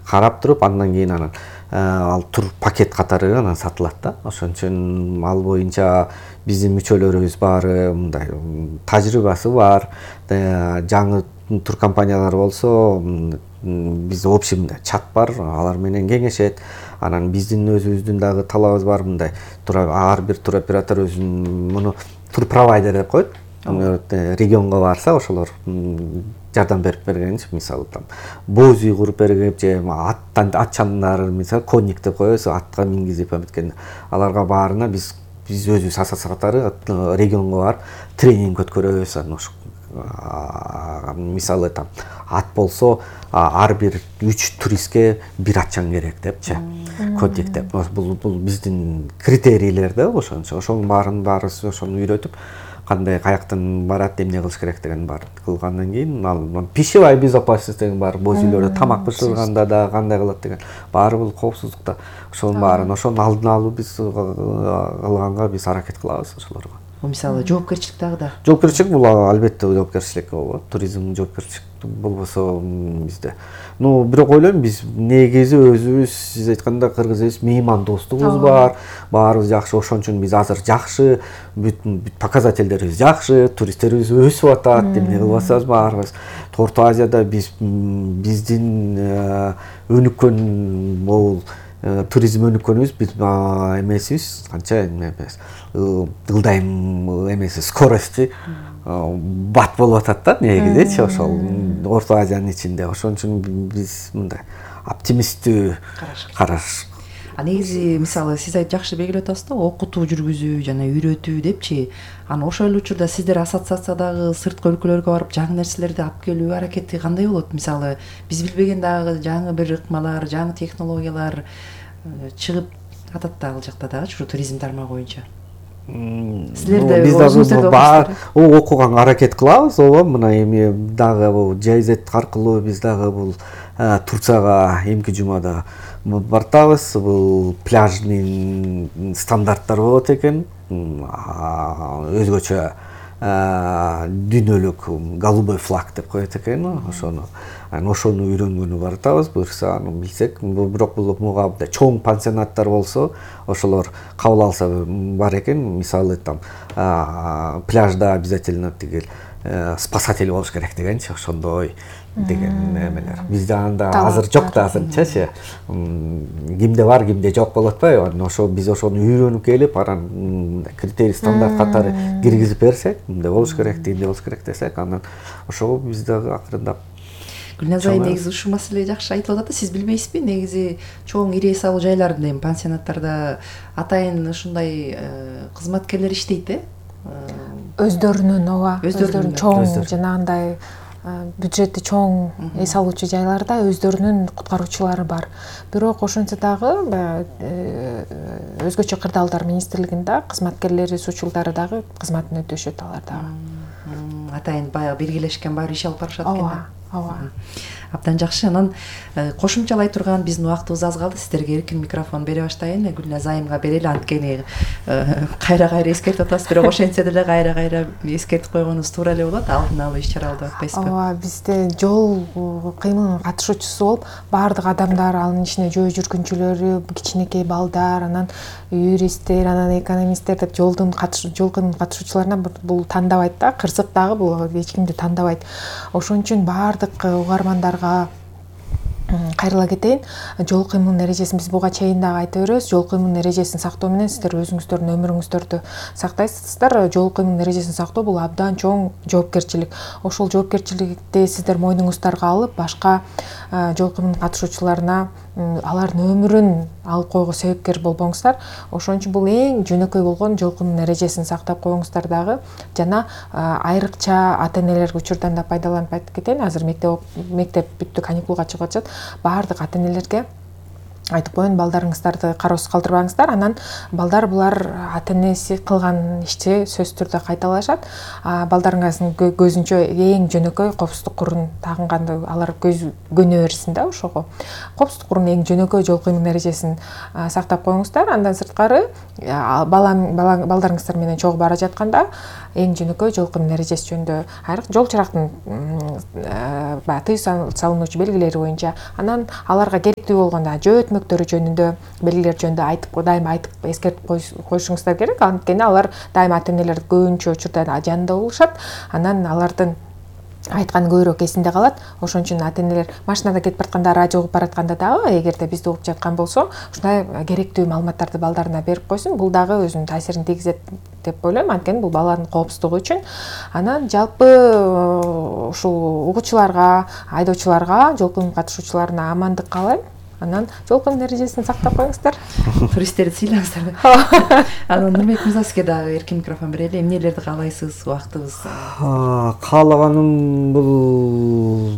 карап туруп андан кийин анан ал тур пакет катары анан сатылат да. Ошон үчүн ал боюнча биздин мүчөлөрүбүз баары мындай тажрыйбасы бар. Жаңы тур компаниялар болсо биз общий мындай чат бар, алар менен кеңешет. Анан биздин өзүбүздүн дагы талабыбыз бар, мындай ар бир тур оператор өзүнүн муну тур провайдер деп коет. Регионго барса ошолор жардам берип бергенчи, мисалы там боз үй куруп берип же ат чандары, мисалы конник деп коебуз, атка мингизип эметкен. Аларга баарына биз өзүбүз асас катары регионго барып тренинг өткөрөбүз. Анан ошо мисалы там ат болсо ар бир 3 туристке бир атчан керек депчи, конник деп. Бул биздин критерийлер да, ошонун баарыбыз ошону үйрөтүп, кандай каяктан барат, эмне кылыш керек деген бар кылгандан кийин ал пищевая безопасность деген бар, боз үйлөрдө тамак бышырганда да кандай кылат деген баары бул коопсуздукта. Ошонун баарын ошонун алдын алуу биз кылганга биз аракет кылабыз ошолорго. Мисалы жоопкерчилик дагы да. Жоопкерчилик бул албетте жоопкерчилик болот. Туризм жоопкерчилик болбосо бизде. Бирок ойлойм, биз негизи өзүбүз, сиз айтканда кыргыз элибиз меймандостугубуз бар, баарыбыз жакшы. Ошон үчүн биз азыр жакшы, бүт показательдерибиз жакшы, туристтерибиз өсүп атат, эмне кылып атсабыз баарыбыз. Орто Азияда биздин өнүккөн бул туризм өнүккөнүбүз биз эмесибиз, канча эмес, ылдайым эмеси, скорости бат болуп атат да негизичи ошол Орто Азиянын ичинде. Ошон үчүн биз мындай оптимисттүү караш. Негизи мисалы сиз жакшы белгилеп атасыз да, окутуу жүргүзүү жана үйрөтүү депчи. Ошол эле учурда сиздер ассоциациядагы сырткы өлкөлөргө барып жаңы нерселерди алып келүү аракети кандай болот? Мисалы биз билбеген дагы жаңы бир ыкмалар, жаңы технологиялар чыгып атат да ал жакта дагы, ушу туризм тармагы боюнча. Силерде биз дагы окуганга аракет кылабыз, мына эми дагы бул JZ аркылуу биз дагы бул Турцияга эмки жумада бартабыз. Бул пляжный стандарттар болот экен, өзгөчө дүйнөлүк голубой флаг деп коет экен. Ошону үйрөнгөнү бартабыз, буюрса аны билсек. Бирок бул муга чоң пансионаттар болсо, ошолор кабыл алса бар экен. Мисалы там пляжда обязательно тигил спасатель болуш керек дегенчи, ошондой деген эмелер. Бизде анда азыр жок да, азырчачы. Кимде бар, кимде жок болуп атпайбы? Ошо биз ошону үйрөнүп келип, анан критерий стандарт катары киргизип берсек, эмне болуш керек, эмне болуш керек десек, анан ошого биз дагы акырындап. Гүлназ айы негизи ушул маселе жакшы айтып атат да, сиз билбейсизби? Негизи чоң ири эс алуу жайларында, эми пансионаттарда атайын ушундай кызматкерлер иштейт өздөрүнүн чоң жанагындай бюджети чоң эс алуучу жайларда өздөрүнүн куткаруучулары бар. Бирок ошентсе дагы өзгөчө кырдаалдар министрлигинде кызматкерлери, сучулдары дагы кызматын өтөшөт алар дагы. Атайын баягы белгилешкен баары иш алып барышат экен. Ооба. Абдан жакшы. Анан кошумчалай турган биздин убактыбыз аз калды. Сиздерге эркин микрофон бере баштайын. Гүлназ айымга берели, анткени кайра эскертип атасыз, бирок ошентсе деле кайра эскертип койгонубуз туура эле болот. Алдын алуу иш чараларды деп атпайсызбы? Ооба, бизде жол кыймылынын катышуучусу болуп, баардык адамдар, анын ичинде жөө жүргүнчүлөрү, кичинекей балдар, анан юристтер, анан экономисттер деп жол кыймылынын катышуучуларынан бул тандабайт да, кырсык дагы бул эч кимди тандабайт. Ошон үчүн баардык угармандарга кайрыла кетейин. Жол кыймылынын эрежесин биз буга чейин дагы айта беребиз. Жол кыймылынын эрежесин сактоо менен сиздер өзүңүздөрдүн өмүрүңүздөрдү сактайсыздар. Жол кыймылынын эрежесин сактоо бул абдан чоң жоопкерчилик. Ошол жоопкерчиликти сиздер мойнуңуздарга алып, башка жол кыймылына катышуучуларына алардын өмүрүн алып койгого себепкер болбоңуздар. Ошон үчүн бул эң жөнөкөй болгон жол кыймылынын эрежесин сактап коюңуздар дагы. Жана айрыкча ата-энелерге учурдан да пайдаланып айтып кетейин. Азыр мектеп бүттү, каникулга чыгып атышат. Баардык ата-энелерге айтып коеюн, балдарыңыздарды кароосуз калтырбаңыздар. Анан балдар булар ата энеси кылган ишти сөзсүз түрдө кайталашат. Балдарыңыздын көзүнчө эң жөнөкөй коопсуздук курун тагынганды алар көнө берсин да ошого. Коопсуздук курунун эң жөнөкөй жол кыймыл эрежесин сактап коюңуздар. Андан сырткары балдарыңыздар менен чогуу бара жатканда эң жөнөкөй жол кыймыл эрежеси жөнүндө жол чырактын тыюу салынуучу белгилери боюнча, анан аларга керектүү болгондо жөө өтмөктөрү жөнүндө белгилер жөнүндө дайыма айтып эскертип коюшуңуздар керек. Анткени алар дайыма ата энелер көбүнчө учурда жанында болушат. Анан алардын айтканы көбүрөөк эсинде калат. Ошон үчүн ата энелер машинада кетип баратканда, радио угуп баратканда дагы эгерде бизди угуп жаткан болсо, ушундай керектүү маалыматтарды балдарына берип койсун. Бул дагы өзүнүн таасирин тийгизет деп ойлойм. Анткени бул баланын коопсуздугу үчүн. Анан жалпы ушул угуучуларга, айдоочуларга, жол кыймыл катышуучуларына амандык каалайм. Анан жол кыймыл эрежесин сактап коюңуздар. Туристтерди сыйлаңыздар. Анан Нурбек мырза, сизге дагы эркин микрофон берели. Эмнелерди каалайсыз? Убактыбыз. Каалаганым бул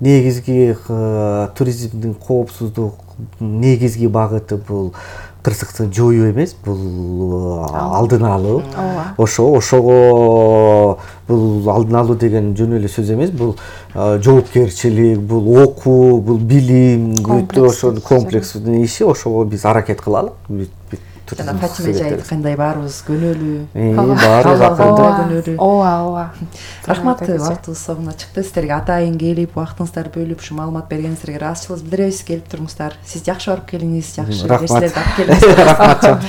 негизги туризмдин коопсуздук негизги багыты бул кырсыктык жоюу эмес, бул алдын алуу. Ошого бул алдын алуу деген жөн эле сөз эмес, бул жоопкерчилик, бул окуу, бул билим, ошо комплекстүү иши. Ошого биз аракет кылалы. Жана Фатима эже айткандай баарыбыз көнөлүү. Көнөлүү. Ооба. Рахмат, убактыбыз соңуна чыкты. Сиздерге атайын келип, убактыңыздарды бөлүп, ушу маалымат бергениңиздерге ыраазычылыгыбызды билдиребиз. Келип туруңуздар. Сиз жакшы барып келиңиз, жакшы нерселерди алып келиңиз. Рахмат.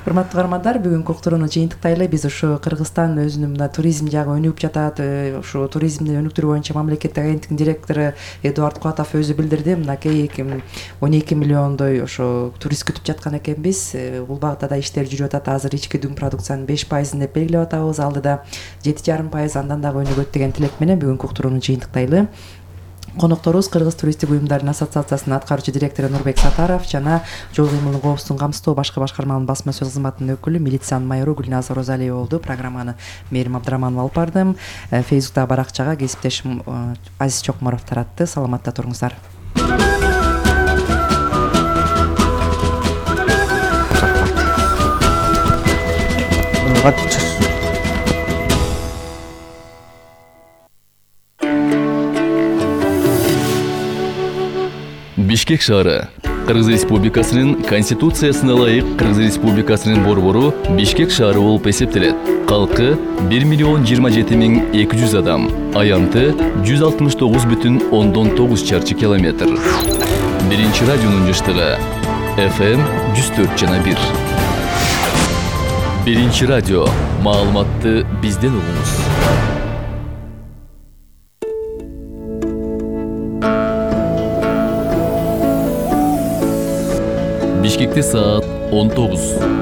Урматтуу каармандар, бүгүнкү уктурууну жыйынтыктайлы. Биз ушу Кыргызстан өзүнүн мына туризм жагы өнүгүп жатат. Ушу туризмди өнүктүрүү боюнча мамлекеттик агенттиктин директору Эдуард Куатов өзү билдирди. Мынакей 12 миллиондой ошо турист күтүп жаткан экенбиз. Бул багытта да иштер жүрүп атат. Азыр ички дүң продукциянын 5% деп белгилеп атабыз. Алдыда 7,5% андан дагы өнүгөт деген тилек менен бүгүнкү уктурууну жыйынтыктайлы. Конокторубуз Кыргыз туристтик уюмдардын ассоциациясынын аткаруучу директору Нурбек Сатаров жана жол кыймылын коопсуздугун камсыздоо башкы башкармалыгынын басма сөз кызматынын өкүлү милициянын майору Гүлназар Розалиева болду. Программаны Мээрим Абдыраманова алып бардым. Фейсбуктагы баракчага кесиптешим Азиз Чокморов таратты. Саламатта туруңуздар. Бишкек шаары Кыргыз Республикасынын Конституциясына ылайык Кыргыз Республикасынын борбору Бишкек шаары болуп эсептелет. Калкы 1,027,200 адам, аянты 169,9 чарчы километр. Биринчи радионун жыштыгы FM 104,1. Биринчи радио, маалыматты бизден угуңуз. Бишкекте саат 19.